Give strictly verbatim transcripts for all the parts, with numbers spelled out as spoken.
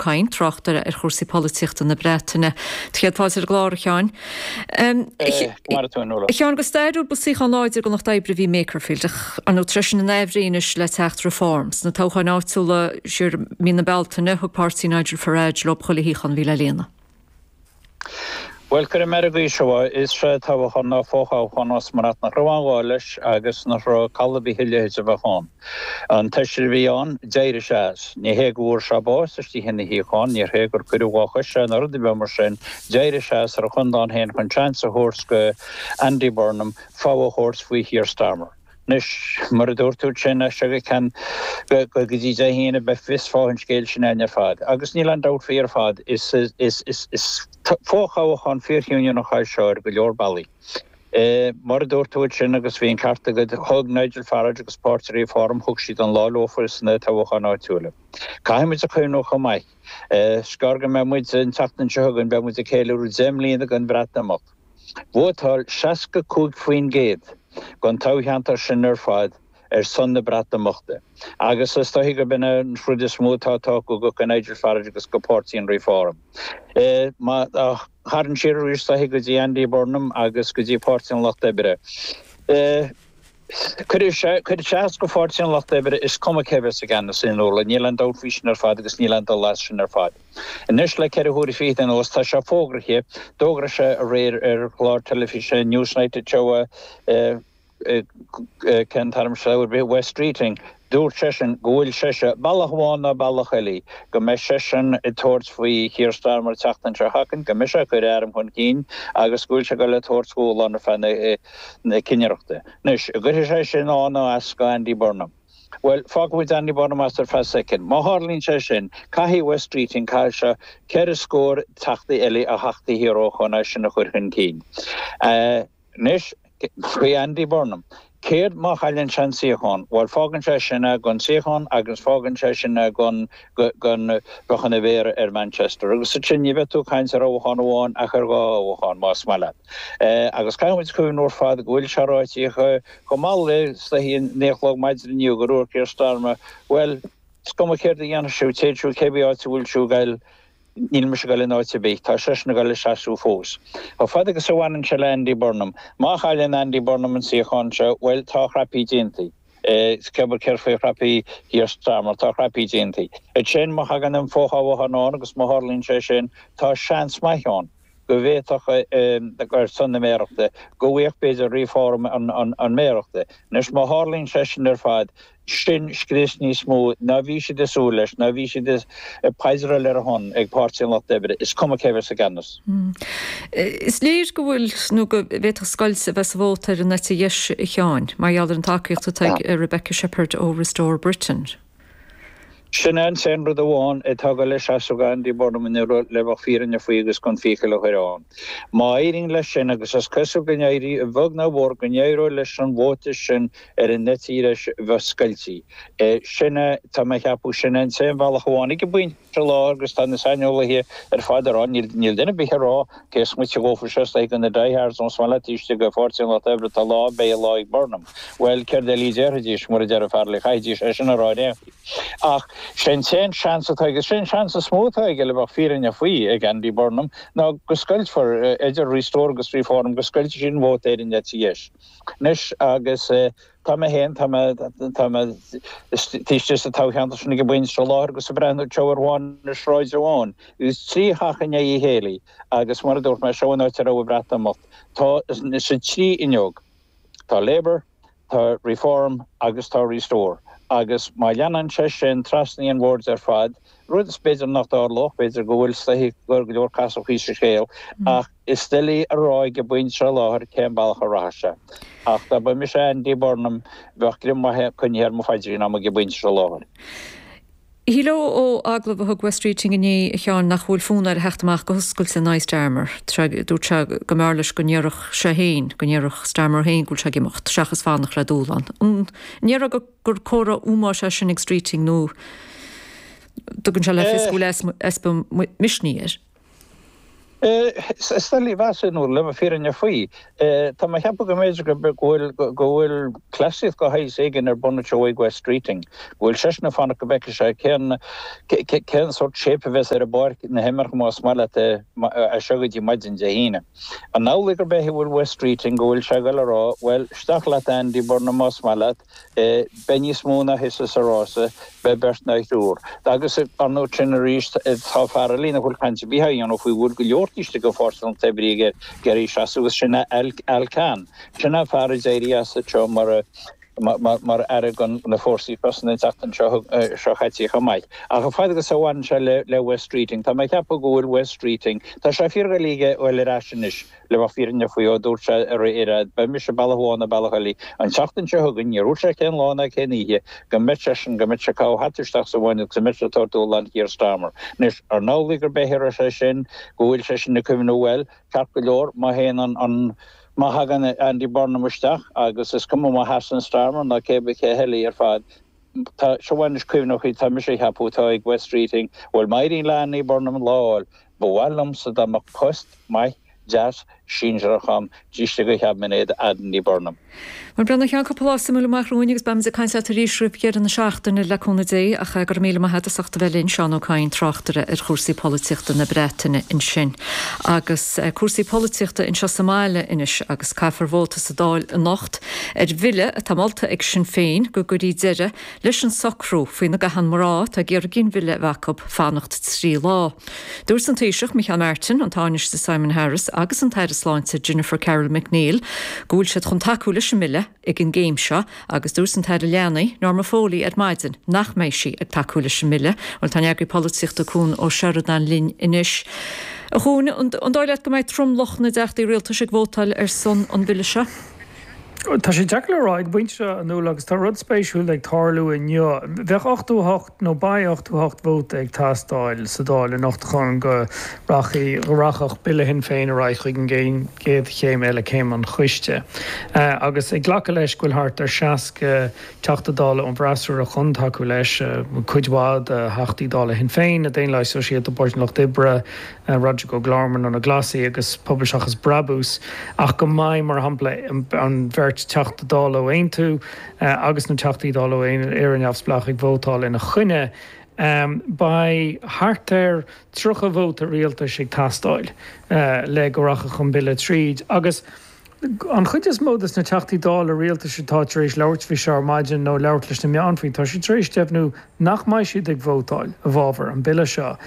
Kyne, tráchtaire ar chúrsaí polaitíochta na Breataine. Céad fáilte ar an gclár, a Sheáin. A Sheáin, go stairiúil ba suíochán láidir don Lucht Oibre a bhí i Makerfield, ach ar ndóigh tá sé sin in aimhréidh anois le teacht Reform. Sna toghcháin áitiúla siar mí na Bealtaine thug páirtí Nigel Farage leo chuile shuíochán a bhí le líonadh. Bhuel, cuirfidh mé ar an gcaoi seo, is é toghchán ná fothoghchán ós mar nach raibh aon ghá leis agus nach raibh call ar bith a leithéid a bheith ann. An Taoiseach a bhí ann, d'éirigh sé as. Ní hé go bhfuair sé bás istigh ina shuíochán, ní hé gur cuireadh dhá chois é nó rud ar bith mar sin, d'éirigh sé as ar a chondán féin chun seans a thabhairt go Andy Burnham fogha a thabhairt faoi Keir Starmer. Anois, mar a dúirt tú sin, as seo go ceann go dtí Dé hAoine beidh fios fáth an scéil sin againn ar fad. Agus níl aon dabht faoi ar fad, is fothoghchán fíorchinniúnach é seo ar go leor bealaí. Mar a dúirt tú sin agus bhí an ceart agat, thug Nigel Farage agus Páirtí Reform, thug siad an lá leofa sna toghcháin áitiúla. Caithfidh muid a chuimhniú chomh maith, is gearr go mbeidh muid an tseachtain seo chugainn, beidh muid ag ceiliúradh deich mbliana den Bhreatimeacht. Vótáil seasca cúig faoin gcéad den toghcheantar sin ar fad ar son na Breatimeachta agus is dóichí gurb in an rud is mó atá tagtha go Nigel Farage agus go Páirtí an Reform. Má tharraingt siar arís is dóichí go dtí Andy Burnham agus go dtí Páirtí an Lucht Oibre. Cuirfidh sé cuirfidh sé as go Pháirtí an Lucht Oibre, is cuma cé bheas i gceannas in Nuala, níl aon dabht faoi sin ar fad agus níl aon dul as sin ar fad. Anois le ceithre huaire fichead anuas tá sé fógraithe, d'fhógair sé aréir ar chlár teilifíse Newsnight anseo cén t-ainm seo Wes Streeting, dúirt seisean go bhfuil seisean, bealach amháin nó bealach eile, go mbeidh seisean ag tabhairt faoi Keir Starmer an tseachtain seo chugainn, go mbeidh sé ag cur a ainm chun cinn agus go bhfuil sé ag dul ag tabhairt dúshlán ar feadh na cinnireachta. Anois, an gcuirfidh sé sin ann nó as go Andy Burnham? Bhuel, fágfaidh muid Andy Burnham as ar feadh soicind. Má tharlaíonn sé sin, caithfidh Wes Streeting, caithfidh sé ceithre scór teachtaí eile a theacht thiar ó chun é sin a chur chun cinn. Anois, faoi Andy Burnham. Céard má chailleann sé an suíochán? Bhuel, fágann sé sin é gan suíochán agus fágann sé sin é gan gan bheith ina mhéara ar Manchester. Agus ansin ní bheidh tú ag caint ar thoghchán amháin ach ar dhá thoghchán, más maith leat. Agus caithfidh muid cuimhniú ar fad go bhfuil sé ráite chomh mall le is a naoi a chlog maidin inniu gur dhúirt Keir Starmer, bhuel, is cuma céard a dhéanfaidh sibh, téid sibh cébí áit a bhfuil sibh ag goil, Níl mise ag dul in áit ar bith. Tá seisean ag dul ag seasamh fós. Chomh fada agus a bhaineann sé le Andy Burnham, má chailleann Andy Burnham an suíochán seo, bhuel, tá a chraipí déanta. Cé céard faoi chraipí Keir Starmer, tá a chraipí déanta. Ansin, má thagann an fothoghchán ann agus má tharlaíonn sé sin, tá seans maith ann go bhféadfadh, ar son na méarachta, go bhfaigheadh b'fhéidir Reform an méarachta. Anois, má tharlaíonn sé sin ar fad, sin scrios níos mó ná bhí siad ag súil leis, ná bhí siad ag paidreáil ar a shon ag Páirtí an Lucht Oibre, is cuma cé bheas i gceannas. Is léir go bhfuil, nó go bhféadfadh scoilt a bheith sa vóta ar an eite dheis, a Sheáin, mar gheall ar an tacaíocht atá ag Rebecca Shepherd ó Restore Britain. Sin é an t-aon rud amháin atá ag dul ag seasamh go Andy Burnham inniu le bheadh fírinne faoi agus gan fiacail a chur ann. Má éiríonn leis sin, agus is cosúil go n-éirí, a bheag nó a mhór, go n-éireoidh leis an vóta sin ar an eite dheis bheith scoiltí. Sin é, tá mé a cheapadh, sin é an t-aon bhealach amháin ag an bpointe i láthair agus tá na saineolaithe ar fad ag rá, níl duine ar bith ag rá cé is moite dhófa seo is do na diehards ós maith leat istigh i bPáirtí an Lucht Oibre tá lá, beidh lá ag Burnham. Bhuel, céard eile a déarfaidís, mura deir an fear le caithfidís é sin a rá ar aon chaoi. Ach sé an t-aon seans atá aige, sé an seans is mó atá aige le bheadh fírinne faoi ag Andy Burnham ná go scoiltfear idir Restore agus Reform, go scoiltfidh siad an vóta ar an eite dheis. Anois agus tá mé féin, tá mé, tá mé istigh sa toghcheantar sin ag an bpointe seo i láthair agus ag breathnú anseo ar bharr na sráide amháin agus trí theach i ndiaidh a chéile agus mar a dúirt mé, seo an áit a raibh an Bhreatimeacht. Tá sa trí fhuinneog, tá Labour, Tá Reform agus tá Restore agus má leanann sé sin trasna an bhoird ar fad, rud is b'fhéidir nach dtarlódh, b'fhéidir go bhfuil is dóichí go leor casachaí sa scéal, ach is doiligh a rá ag an bpointe seo i láthair cén bealach a rachaidh sé. Ach dá mba mise Andy Burnham, bheadh greim maith coinnithe ar mo phaidrín agam ag an bpointe seo i láthair. Shílfeá ó agallamh a thug Wes Streeting inné, a Sheáin, nach bhfuil fonn air a theacht amach go hoscailte in aghaidh Starmer. Dúirt sé go mb'fhearr leis go ndéarfadh sé féin, go ndéarfadh Starmer féin go bhfuil sé ag imeacht, seachas fanacht le dúshlán. An ndéarfá gur comhartha ómóis é sin ag Streeting nó dtugann sé le fios go bhfuil easpa misnigh air? Is doiligh a mheas le bheith fírinneach faoi. Tá mé ag ceapadh go mb'fhéidir go bhfuil go bhfuil cleasaíocht de shaghas éigin ar bun anseo ag Wes Streeting, go bhfuil seisean ag fanacht go bhfeicfidh sé cén cén sórt shape a bheas ar an bpáirc na himeartha más maith leat é as seo go dtí maidin Dé hAoine. An amhlaidh gurb é a bhfuil Wes Streeting go bhfuil sé ag dul a rá, bhuel, isteach leat Andy Burnham más maith leat, beidh níos mó ná thusa sa rása, beidh beirt nó triúr. Agus ar ndóigh sin arís tá fear eile nach bhfuil caint ar bith á dhéanamh faoi bhfuil go leor taobh istigh de Pháirtí an Lucht Oibre ag iarraidh seasamh agus sin é Al Khan. Sin é fear a d'éirigh as anseo mar mar aire do na Fórsaí Cosanta an tseachtain seo caite chomh maith. Ach fad agus a bhaineann sé le le Wes Streeting, tá mé ag ceapadh go bhfuil Wes Streeting, tá sé fíordhoiligh a fháil ar ais anois le bheith fírinneach faoi ó dúirt sé aréir, beidh mise bealach amháin nó bealach eile an tseachtain seo chugainn, níor dhúirt sé cén lá ná cén oíche, go mbeidh seisean, go mbeidh sé ag caitheamh hata isteach sa bhfuinneog agus go mbeidh sé ag tabhairt dúshlán Keir Starmer. Anois, an amhlaidh gurb é a raibh sé sin, go bhfuil seisean ag cuimhneamh, bhuel, ceart go leor, má théann an, an, má thagann Andy Burnham isteach agus is cuma má sheasann Starmer ná cé bith cé heile ar fad, tá, seo anois cuimhneochaí, tá mise ag ceapadh, atá ag Wes Streeting, bhuel, má éiríonn le Andy Burnham an lá a fháil, ba mhaith liomsa dá mbeadh post maith, deas, sinsearach a'm taobh istigh de chaibinéad Andy Burnham. Bhuel, a Sheáin, cúpla lá suimiúil amach romhainn agus beimid ag caint leat arís roimh dheireadh na seachtaine le cúnamh Dé ach go raibh míle maith agat as ucht a bheith linn, Seán Ó Cadhain, tráchtaire ar chúrsaí polaitíochta na Breataine ansin. Agus cúrsaí polaitíochta anseo sa mbaile anois agus caithfear vóta sa Dáil anocht ar bhille atá molta ag Sinn Féin go gcuirfí deireadh leis an socrú faoina gcaitheann mná atá ag iarraidh ginmhilleadh a bheith acu fanacht trí lá. Dúirt an Taoiseach Micheál Martin, an Tánaiste Simon Harris agus an tAire Sláinte Jennifer Carroll MacNeill go bhfuil siad chun tacú leis an mbille ag an gcéim seo agus dúirt an tAire Leanaí Norma Foley ar maidin nach mbeidh sí ag tacú leis an mbille. Bhuel tá an eagraí polaitíochta Cuan Ó Seireadáin linn anois. A Chuain, an dóigh leat go mbeidh tromlach na dteachtaí rialtais ag vótáil ar son an bhille seo? Tá sé deacair le rá ag an bpointe seo, a Nuala, agus tá rud spéisiúil ag tarlú inniu. Bheadh ochtó a hocht nó beidh ochtó a hocht vóta ag teastáil sa Dáil anocht chun go rachaidh, go rachadh Bille Shinn Féin ar aghaidh chuig an gcéad chéim eile, céim an choiste. Agus ag glacadh leis go bhfuil thart ar seasca Teachta Dála ón bhfreasúra chun tacú leis, cuid mhaith de Theachtaí Dála Shinn Féin, na Daonlathaigh Sóisialta, Páirtí an Lucht Oibre, Roderic O'Gorman ó na Glasaigh agus Pobal Seachas Brabús, ach go mbeidh, mar shampla, an bheirt Teachta Dála ó Aontú agus na Teachtaí Dála ó Éire Neamhspleách ag vótáil ina choinne, beidh thart ar tríocha vóta rialtais ag teastáil le go rachadh an bille tríd. Agus an chuid is mó de na Teachtaí Dála rialtais atá tar éis labhairt faoi seo ar maidin nó labhairt leis na meáin faoi, tá siad tar éis deimhniú nach mbeidh siad ag vótáil i bhfabhar an bille seo.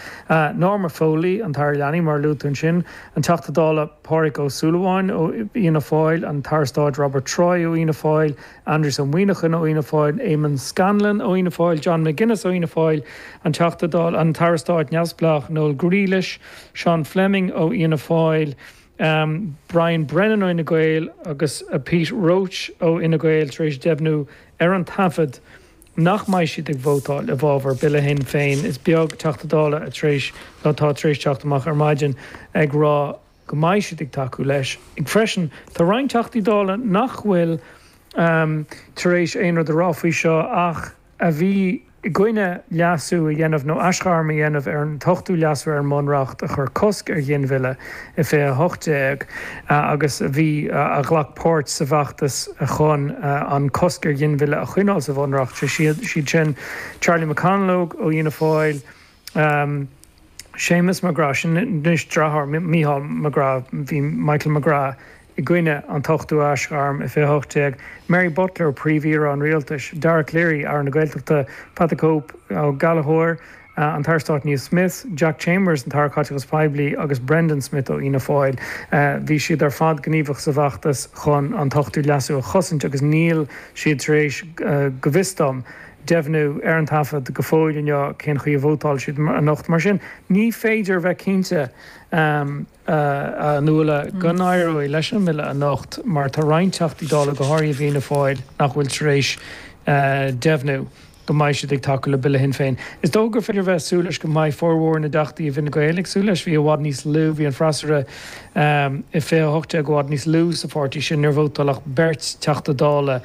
Norma Foley, an tAire Leanaí, mar a luaigh tú ansin, an Teachta Dála Pádraig Ó Súilleabháin ó Fhianna Fáil, an tAire Stáit Robert Troy ó Fhianna Fáil, Aindrias Ó Muimhneacháin ó Fhianna Fáil, Eamon Scanlon ó Fhianna Fáil, John McGuinness ó Fhianna Fáil, an Teachta Dála, an tAire Stáit neamhspleách Noel Grealish, Sean Fleming ó Fhianna Fáil, Brian Brennan ó Fhine Gael agus Pete Roche ó Fhine Gael tar éis deimhniú ar an taifead nach mbeidh siad ag vótáil i bhfabhar Bille Shinn Féin. Is beag Teachta Dála a tar éis nó atá tar éis teacht amach ar maidin ag rá go mbeidh siad ag tacú leis. Freisin, tá roinnt Teachtaí Dála nach bhfuil tar éis aon rud a rá faoi seo ach a bhí i gcoinne leasú a dhéanamh nó aisghairm a dhéanamh ar an t-ochtú leasú ar an mBunreacht a chuir cosc ar ghinmhilleadh i fiche a hocht déag agus a bhí a ghlac páirt sa bhfeachtas chun an cosc ar ghinmhilleadh a choinneáil sa Bhunreacht. Sé siad sin Charlie McConalogue ó Fhianna Fáil, Séamus McGrath, sin anois deartháir Mícheál McGrath, bhí Michael McGrath i gcoinne an t-ochtú aisghairm i fiche a hocht déag, Mary Butler, Príomh-Aoire an Rialtais, Dara Calleary, Aire na Gaeltachta, Pat the Cope Ó Gallchóir, an tAire Stáit Neil Smith, Jack Chambers, an tAire Caiteachais Poiblí agus Brendan Smith ó Fhianna Fáil. Bhí siad ar fad gníomhach sa bhfeachtas chun an t-ochtú leasú a chosaint agus níl siad tar éis, go bhfios dom, deimhniú ar an taifead go fóill inniu cén chaoi a vótáil siad anocht. Mar sin, ní féidir a bheith cinnte, a Nuala, go n-éireoidh leis an mbille anocht mar tá roinnt Teachtaí Dála, go háirithe i bhFianna Fáil, nach bhfuil tar éis deimhniú go mbeidh siad ag tacú le Bille Shinn Féin. Is dócha gur féidir a bheith ag súil leis go mbeidh formhór na dTeachtaí i bhFine Gael ag súil leis. Bhí i bhfad níos lú, bhí an freasúra i fiche a hocht déag i bhfad níos lú sa pháirtí sin, níor vótáil ach beirt Teachta Dála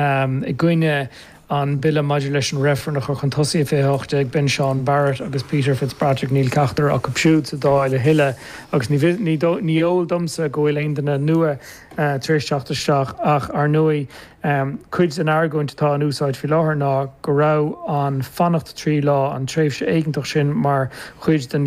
i gcoinne an bille maidir leis an reifreann a chur chun tosaigh i fiche a hocht déag, b'in Sean Barrett agus Peter Fitzpatrick, níl ceachtar acu siúd sa Dáil a thuilleadh agus ní ní eol domsa go bhfuil aon duine nua tar éis teacht isteach ach ar ndóigh cuid den argóint atá in úsáid faoi láthair ná go raibh an fanacht trí lá, an tréimhse éigeantach sin mar chuid den